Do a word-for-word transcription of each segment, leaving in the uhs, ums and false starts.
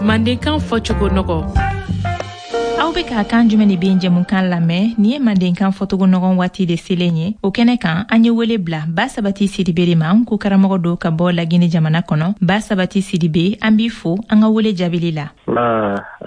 Mandenkan fɔcogo nɔgɔ. Aw bɛ ka Kan jumɛn de bɛ jɛmukan lamɛn. Nin ye mandenkan fɔcogo nɔgɔn waati de selen ye. O kɛnɛ kan, an ye wele bila Ba Sabati Sidibe de ma, ko karamɔgɔ don ka bɔ Lagini jamana kɔnɔ. Ba Sabati Sidibe, an b'i fo an ka wele jaabili la.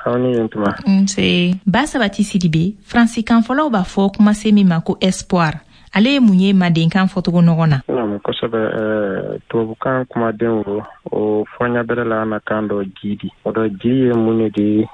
Aw ni yen tuma. Nse Ba Sabati Sidibe, faransikan fɔlɔw b'a fɔ kumasen min ma ko espoir, ale ye mun ye mandenkan fɔcogo nɔgɔn na? Naamu, kosɛbɛ. Tubabukan kumaden o o fɔɲa bɛrɛ la an na kan dɔ ji di. O dɔ ji ye mun ne di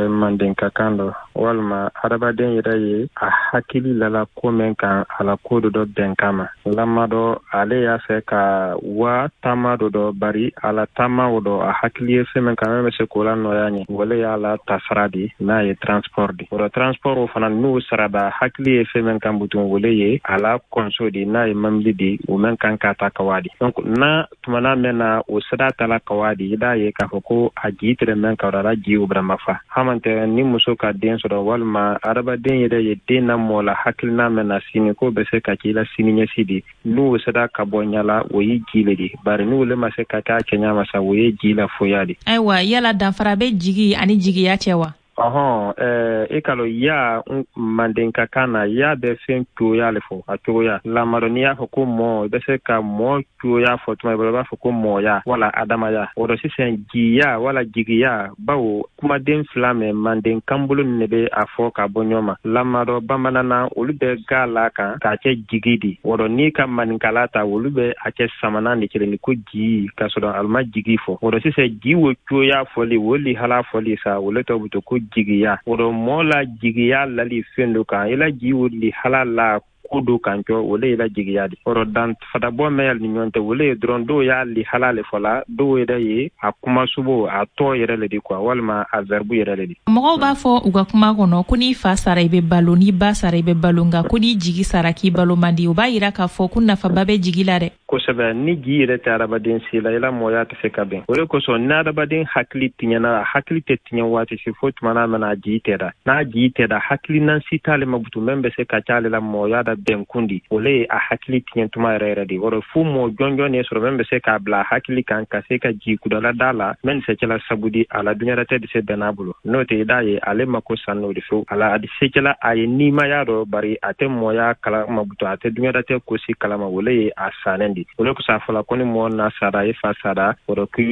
mandenka kan dɔ, walima hadamaden yɛrɛ ye a hakili lala ko min kan, a la ko dɔ dɔ bɛn kama lama dɔ, ale y'a fɛ ka wa taama dɔ dɔ, bari a la taama o dɔ, a hakili ye fɛn min kan min bɛ se k'o la nɔgɔya ɲɛ, wale y'a la tasara di n'a ye transport di. O dɔ transport o fana n'o sarada, hakili ye fɛn min kan butun, wale ye a la kɔnso di n'a ye mamili di, o mɛn kan ka ta ka wa di. Donc n'a tumana mɛn na o sira ta la ka wa di, i b'a ye k'a fɔ ko a ji tɛrɛ mɛn ka la ji o bɛrɛma fa hamantɛ. Ni muso ka den sɔrɔ, walima adamaden yɛrɛ ye den na mɔ la hakilina mɛn na sini k'o bɛ se ka k'i la sini ɲɛsi di, n'o sera ka bɔ ɲala, o ye ji le di. Bari n'o le ma se ka kɛ a cɛɲa ma sa, o ye ji la foya di. Ayiwa, yala danfara bɛ jigi ani jigiya cɛ wa? Ɔhɔn, ɛɛ i ka lɔ ya mandenka kan na, ya bɛ fɛn cogoya le fɔ, a cogoya lamadɔ. N'i y'a fɔ ko mɔ, i bɛ se ka mɔ cogoya fɔ tuma i b'a fɔ ko mɔya wala adamaya. O dɔ sisan jiya wala jigiya, bawo kumaden fila mɛ manden kanbolo nin de bɛ a fɔ ka bɔ ɲɔgɔn ma lamadɔ. Bamanan na, olu bɛ ga la kan k'a kɛ jigi di. O dɔ n'i ka maninkala ta, olu bɛ a kɛ samanan de kelen ko ji, k'a sɔrɔ alu ma jigi fɔ. O dɔ sisan ji wo cogoya fɔli, o lihala fɔli sa, o le tɔ bɛ to ko jigiya. O dɔ mɔɔ la jigiya lali fɛn dɔ kan, i la ji o lihala la ko do kan cɔ, o le ye la jigiya di. O dɔ dan fadabɔ mɛn yali ni ɲɔgɔn tɛ, o le ye dɔrɔn dɔw y'a lihala le fɔla, dɔw yɛrɛ ye a kumasubo a tɔ yɛrɛ le di quoi, walima a verbe yɛrɛ le di. Mɔgɔw b'a fɔ u ka kuma kɔnɔ ko n'i fa sara, i bɛ balo, n'i ba sara, i bɛ balo, nka ko n'i jigi sara, k'i balo man di. O b'a yira k'a fɔ ko nafaba bɛ jigi la dɛ. Kosɛbɛ. Ni ji yɛrɛ tɛ adamaden si la, i la mɔgɔya tɛ se ka bɛn. O de kosɔn ni adamaden hakili tiɲɛna, a hakili tɛ tiɲɛ waati si fo tuma n'a mana a ji tɛ da. N'a ji tɛ da, hakilina si t'ale ma butu min bɛ se ka c'ale la mɔgɔya da bɛnkun di, o le ye a hakili tiɲɛ tuma yɛrɛ yɛrɛ de. O rɔ fo mɔgɔ jɔnjɔn de sɔrɔ min bɛ se k'a bila a hakili kan ka se ka ji kudala da la min se kɛla sabu di a la diɲɛlatigɛ tɛ se bɛn n'a bolo. N'o tɛ, i d'a ye ale mako san n'o de fewu a la, a di se kɛla a ye nimaya dɔ, bari a tɛ mɔgɔya kalama butu, a tɛ diɲɛlatigɛ ko si kalama, o le ye a sannen di. O le kosɔn a fɔla ko ni mɔgɔ na sara, i fa sara, o rɔ ko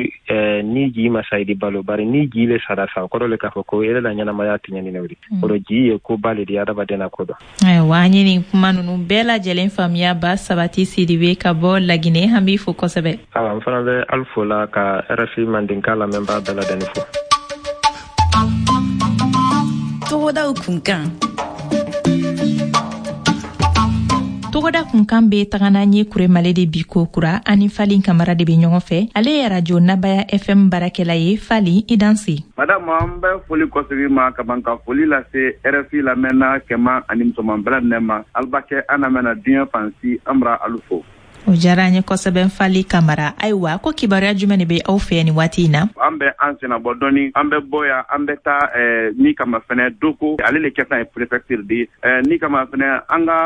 ni ji ma sa, i di balo. Bari ni ji le sara sa, o kɔrɔ le k'a fɔ ko e la ɲɛnamaya tiɲɛni o de. O rɔ ji ye koba le di adamaden na ko dɔ. Ayiwa, an ye nin kuma ninnu bɛɛ lajɛlen faamuya. Ba Sabati Sidibe ka bɔ Laginɛ, an b'i fo kosɛbɛ. Awa, n fana bɛ alu fo la ka R F I mandenka lamɛnbaa bɛɛ lajɛlen fo. Togodaw kunkan. Togoda kunkan bɛ taga n'an ye Kuremale de bi ko kura. Ani Fali Kamara de bɛ ɲɔgɔn fɛ, ale ye radio Nabaya F M baarakɛla ye. Fali, i danse. Madame, an bɛ foli kɔsegi ma ka ban ka foli lase R F I lamɛnna cɛman ani musoman bɛɛ lajɛlen ma. Alibakɛ an lamɛnna diɲɛ fan si, an bara alu fo. O diyara an ye kosɛbɛ, Fali Kamara. Ayiwa, ko kibaruya jumɛn de bɛ aw fɛ nin waati in na? An bɛ an senna bɔ dɔɔni, an bɛ bɔ yan, an bɛ taa ni kama fɛnɛ doko, ale le kɛ ye préfecture di ni kama fɛnɛ an ka